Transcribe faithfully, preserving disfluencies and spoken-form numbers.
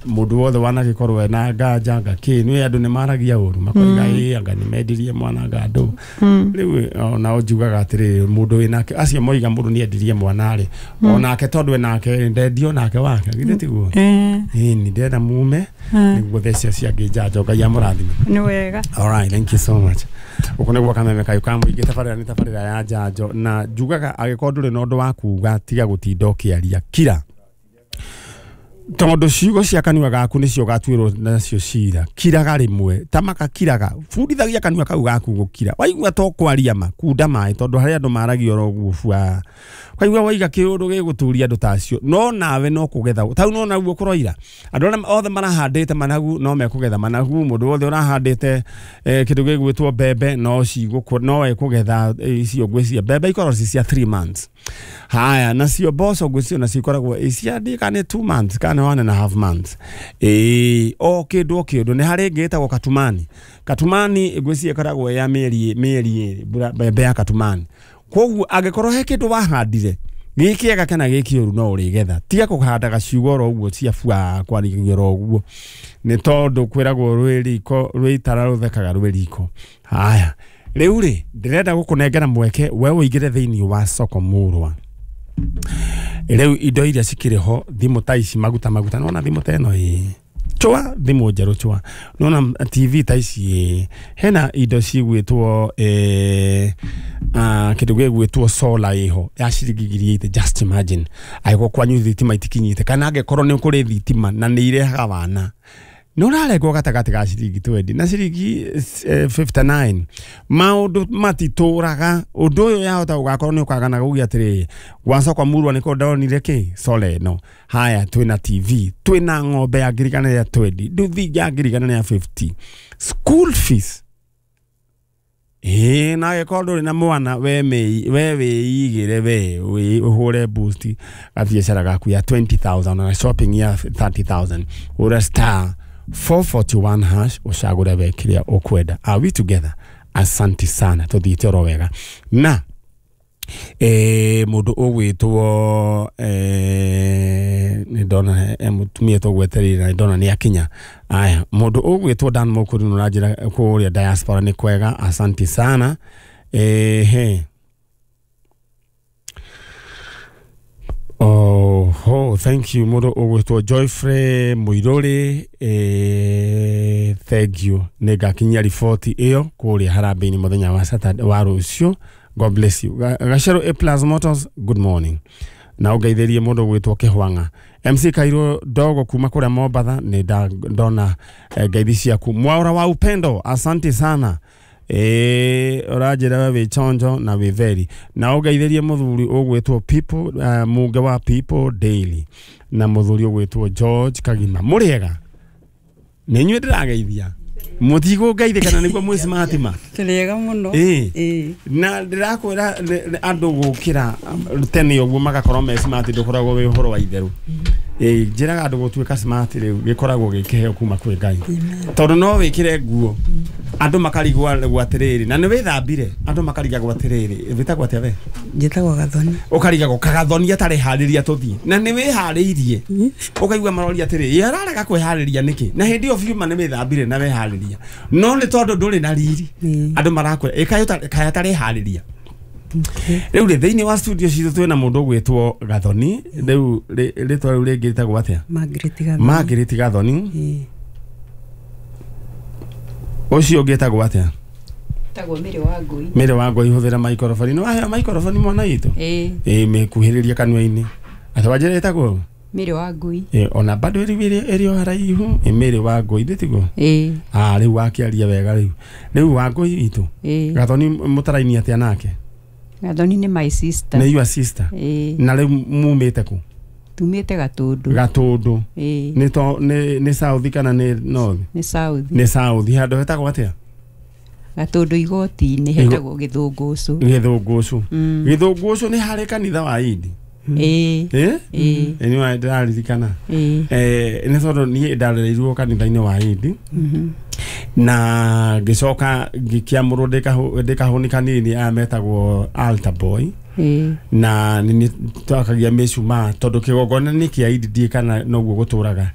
Mundu wothe wanagikorwo ena nganja ngaki ni andu ni maragia uru makoiga ii anga ni mendirie mwana nga andu riu ona njugaga atiri mundu winake acio moiga mundu ni endirie mwana ri onake tondu enake ndendio nake wake githĩ tiguo Eh. ĩĩ ni ndĩrenda mume nĩguo thecia ciangĩ njanjo. Ngai amũrathime. Nĩ wega. All right, thank you so much. Uko nĩguo kameme kayo ka mũingĩ. Tabarĩra nĩ tabarĩra ya njanjo na njugaga angĩkorwo ndũrĩ na ũndũ wa kuga, tiga gũtinda ũkĩaria, kira, tondũ ciugo cia kanua gaku nĩcio ũgatuĩrwo nacio cira. Kiraga rĩmwe ta makakiraga, bundithagia kanua kau gaku gũkira. Waigua to kwaria ma kunda maĩ, tondũ harĩ andũ maragia oro ũguo bua, kaigua waiga kĩũndũ gĩgũturia andũ ta acio, no nawe no kũgetha tau no naguo kũroira. Andũ arĩa othe marahandĩte managu no mekũgetha managu. Mũndũ wothe ũrahandĩte eh, kĩndũ gĩgwĩtwo mbembe no cigũkũ no ekũgetha eh, icio ngwĩciria mbembe ikoragwo ci cia three months. Haya, nacio mboco ngwĩciria nacio ikoragwo cia kana nĩ two months kana one and a half months. Ĩĩ, o kĩndũ o kĩndũ. Nĩ harĩ ĩngĩ ĩtagwo katumani. Katumani ngwĩciria ĩkoragwo ya mĩeri mĩeri ĩrĩ, mbura- mbembe ya katumani. Koguo angĩkorwo he kĩndũ wahandire gĩ kĩega kana gĩ kĩũru, no ũrĩgetha. Tiga kũhandaga ciugo oro ũguo cia bua, kwaragia oro ũguo, nĩ tondũ kwĩragwo rwĩ riko rwĩ itara rũthekaga rwĩ riko. Haya, rĩu rĩ ndĩrenda gũkũnengera mweke we ũingĩre thĩinĩ wa soko murwa. Rĩu indo iria cikĩrĩ ho, thimũ ta ici, maguta maguta, nona thimũ ta ĩno ĩ chwa, thimũ njerũ chwa, nona T V ta ici ĩ hena indo cigwĩtwo eh, ah, kĩndũ gĩgwĩtwo solar ĩho ya ciringi ngiri igĩrĩ. Just imagine angĩkorwo kwanyu thitima itikinyĩte, kana angĩkorwo nĩ kũrĩ thitima na nĩ irehaga wana, nĩ ũrarengwo gatagatĩ ga ciringi mĩrongo ĩĩrĩ na ciringi eh, mĩrongo ĩtano na kenda. Maũndũ matitũraga. Ũndũ ũyũ yahota gũgakorwo nĩ ũkagana gũgia atĩrĩrĩ, gwacoka murwa nĩko ndonire kĩ solar ĩno. Haya, twĩna T V, twĩna ng'ombe ya ngiri igana rĩa mĩrongo ĩĩrĩ, nduthi ya ngiri igana rĩa mĩrongo ĩtano, school fees. Ĩĩ, na angĩkorwo ndũrĩ na mwana, we mĩ- we wĩigĩre, we wĩ- ũhũre boost gabiacara gaku ya ngiri mĩrongo ĩĩrĩ na shopping ya mĩrongo ĩtatũ ũre star four four one hash, ũcagũre we kĩrĩa ũkwenda. Are we together? Asante sana, tũthiĩte oro wega. Na eh, mũndũ ũgwĩtwo eh, nĩ ndona eh, mũtumia tũgwetereire na nĩ ndona nĩ akinya. Aya, mũndũ ũgwĩtwo Dan Mũkũri nĩ ũranjĩra kũrĩa diaspora nĩ kwega. Asante sana. Ehe. Oh, oh, thank you. Mũndũ ũgwĩtwo Joyfrey Mũirũrĩ, eh, thank you. Nĩ ngakinyia riboti ĩyo kũrĩa harambee-inĩ mũthenya wa Saturday wa rũciũ. God bless you. Ga- Gacero A Plus Motors, good morning. Na ũngeithĩrie mũndũ ũgwĩtwo Kĩhwang'a M C Kairũ Ndogo kuma kũrĩa Mombatha. Nĩ nda- ndona eh, ngeithi ciaku. Mwaura wa Upendo, asante sana. Ĩĩ, ũranjĩra we wĩ chonjo na wĩ veri. Na ũngeithĩrie mũthuri ũgwĩtwo People, uh, Munge wa People Daily, na mũthuri ũgwĩtwo George Kagima. Mũrĩega? Nĩ inyuĩ ndĩrageithia, mũtigũngeithia kana nĩguo mwĩ smart ma? Tũrĩega mũno. Ĩĩ. Ĩĩ. Na ndĩrakwĩra nĩ- nĩ andũ gũkĩra tene ũguo magakorwo me smart ndũkoragwo wĩ ũhoro wa itherũ. Ĩĩ, njĩraga andũ gũtuĩka smart rĩu gĩkoragwo gĩ kĩheo kuma kwĩ Ngai, tondũ no wĩkĩre nguo andũ makarigwo atĩrĩrĩ, na nĩ wĩthambire, andũ makarigagwo atĩrĩrĩ, wĩtagwo atĩa we? Njĩtagwo Gathoni. Ũkarigagwo kagathoni atarĩ harĩria tũthiĩ, na nĩ wĩharĩirie, ũkaigua maroria atĩrĩ, "Ĩ, ararega kwĩharĩria nĩkĩ?" Na hĩndĩ ĩyo biũ ma nĩ wĩthambire na weharĩria, no nĩ tondũ ndũrĩ na riri Ĩĩ. andũ marakwĩra ĩ kaĩ ũta- kaĩ atarĩ harĩria. Rĩu rĩ thĩinĩ wa studio citũ twĩna mũndũ ũgwĩtwo Gathoni. Rĩu rĩ- rĩtwa rĩu rĩngĩ rĩtagwo atĩa? Margaret Gathoni. Margaret Gathoni. Ĩĩ. Ũcio ũngĩ etagwo atĩa? Tagwo Mĩrĩ wa Ngũi. Mĩrĩ wa Ngũi, hũthĩra maikoroboni. Nĩ waheo maikoroboni mwana witũ? Ĩĩ. Ĩ, mĩkuhĩrĩria kanua-inĩ. Atĩ wanjĩra ĩtagwo? Mĩrĩ wa Ngũi. Ĩ, ona bado ĩrĩ ĩrĩ ĩrĩ o haraihu. Ĩ, Mĩrĩ wa Ngũi, ndĩtiguo? Ĩĩ. Ah, rĩu wakĩaria wega. Rĩu rĩu wa Ngũi witũ. Ĩĩ. Gathoni mũtaraini atĩa nake? Gathoni nĩ my sister. Nĩ your sister? Ĩĩ. Na rĩu mumĩte kũ? Tumĩte Gatũndũ. Gatũndũ. Ĩĩ. Nĩ to nĩ nĩ south kana nĩ north? Nĩ south. Nĩ south. Handũ hetagwo atĩa? Gatũndũ igoti-inĩ, hetagwo Gĩthũngũcũ. Gĩthũngũcũ. Mm. Gĩthũngũcũ nĩ harĩ kanitha wa Indi? Ĩĩ. Ĩ. Ĩĩ. Ĩ, nĩ ndĩraririkana. Ĩĩ. Eh, nĩ tondũ niĩ ndarereirwo kanitha-inĩ wa Indi Mhm. na ngĩcoka ngĩkĩamũrwo ndĩ kahũni kanini, aya metagwo altar boy. Ĩĩ. Na nĩ twakagia mĩcumaa tondũ kĩgongona nĩ kĩa Indi, ndiĩ kana noguo gũtũraga.